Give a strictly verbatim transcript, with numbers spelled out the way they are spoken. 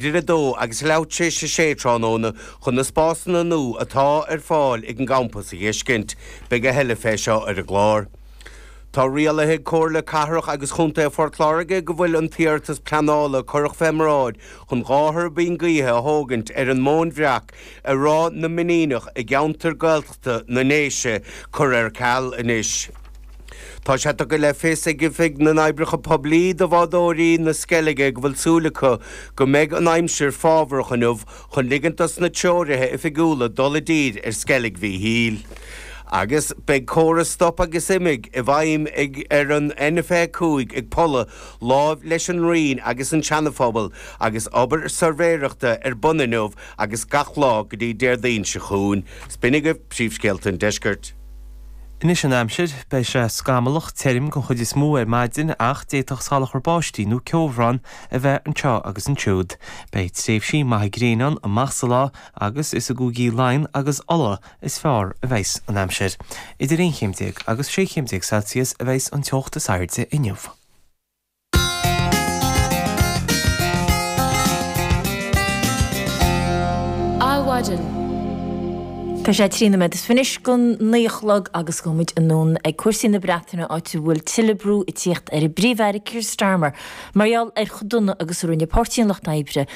Idir a dó agus leathuair tar éis a sé tráthnóna chun na spásanna nua atá ar fáil ag an gcampas a fheiscint. Beidh a thuilleadh fé seo ar an gclár. Tá rialaithe ag Comhairle Cathrach agus Chontae Phort Láirge go bhfuil an t-iarratas pleanála a cuireadh fé mbráid chun dhá thuirbín gaoithe a thógaint ar an Móin Bhreac ar Ráth na Mainíneach i gceantar Gaeltachta na nDéise curtha ar ceal anois. Tá sé tugtha le fios ag Oifig na nOibreacha Poiblí do bhádóirí na Sceilge go bhfuil súil acu go mbeidh an aimsir fábharach inniu chun ligint dos na treoraithe oifigiúla dul i dtír ar Sceilg Mhichíl. Agus beidh córas stop agus imigh i bhfeidhm ag ar an N fiche a cúig ag Polla láimh leis an Rinn agus an Seanaphobal agus obair suirbhéireachta ar bun inniu agus gach lá go dtí Déardaoin seo chugainn. 'S b'in agaibh príomhscéalta an deiscirt. Anois an aimsir, beidh sé scamallach tirim den chuid is mó ar maidin ach d'fhéadfadh salachar báistí nó ceobhrán a bheith anseo agus ansiúd. Beidh tréimhsí maithe gréine ann amach sa lá agus is i gcúigí Laighean agus Uladh is fearr a bheas an aimsir. Idir aon chéim déag agus sé chéim déag Celsius a bheas an teocht is airde inniu. Adhmhaidin. Tá sé trí nóiméad is fiche anois go naoi a chlog agus gabhfaidh muid anonn ag cúrsaí na Breataine áit a bhfuil tuilleadh brú ag tíocht ar an bPríomh-Aire Keir Starmer mar gheall ar chomh dona agus a rinne Páirtí an Lucht Oibre